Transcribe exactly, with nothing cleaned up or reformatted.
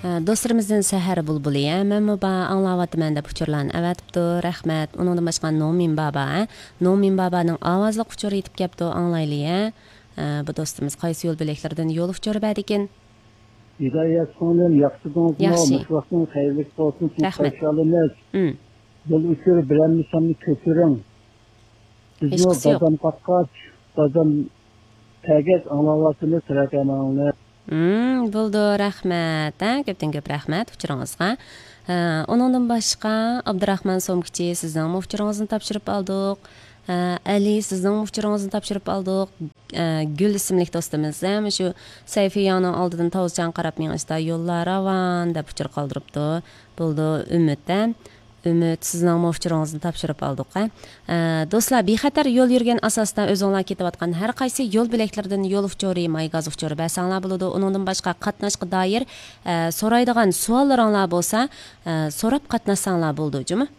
ئە، دوستلىرىمىزدىن سەھەر بۇلبۇلى، ھە، مەنمۇ بار، ئاڭلاۋاتىمەن دەپ ئۇچۇرلارنى ئەۋەتىپتۇ. رەھمەت. ئۇنىڭدىن باشقا نومىن بابا، ھە، نومىن بابانىڭ ئاۋازلىق ئۇچۇرى يېتىپ كەپتۇ، ئاڭلايلى، ھە. ئە، بۇ دوستىمىز قايسى يول بۆلەكلىرىدىن يول ئۇچۇرى بەردىكىن؟ ھىدايەت سىڭلىم، ياخشىدىڭىزمۇ؟ ياخشى. مۇشۇ ۋاقتىڭىز خەيرلىك بولسۇن، سىز رەھمەت. قارشى ئالىمىز. ئۇم. يول ئۇچۇرى بىرەر مىسالنى كۆچۈرۈڭ. بىزمۇ ھېچقىسى يوق. بازام قاققاچ، بازام تەگەچ ئاڭلاۋاتىمىز، تىلەكەرمەڭلار. ئۇم، بولىدۇ، رەھمەت، ھە، كۆپتىن كۆپ رەھمەت ئۇچۇرىڭىزغا. ھە، ئۇنىڭدىن باشقا، ئابدۇراخمان سومكىچى، سىزنىڭمۇ ئۇچۇرىڭىزنى تاپشۇرۇپ ئالدۇق. ھە، ئەلى، سىزنىڭمۇ ئۇچۇرىڭىزنى تاپشۇرۇپ ئالدۇق. ھە، گۈل ئىسىملىك دوستىمىز، ھە، مۇشۇ سەيفىيانىڭ ئالدىدىن تاۋزىچاڭ قاراپ مېڭىشتا يوللار راۋان دەپ ئۇچۇر قالدۇرۇپتۇ. بولىدۇ، ئۈمىد، ھە. ئۈمىد، سىزنىڭمۇ ئۇچۇرىڭىزنى تاپشۇرۇپ ئالدۇق، ھە. ئە، دوستلار، بىخەتەر يول يۈرگەن ئاساستا ئۆزۈڭلار كېتىۋاتقان ھەر قايسى يول بۆلەكلىرىدىن يول ئۇچۇرى، ماي گاز ئۇچۇرى بەرسەڭلار بولىدۇ. ئۇنىڭدىن باشقا قاتناشقا دائىر، ئە، سورايدىغان سوئاللىرىڭلار بولسا، ئە، سوراپ قاتناشساڭلار بولىدۇ، جۇمۇ.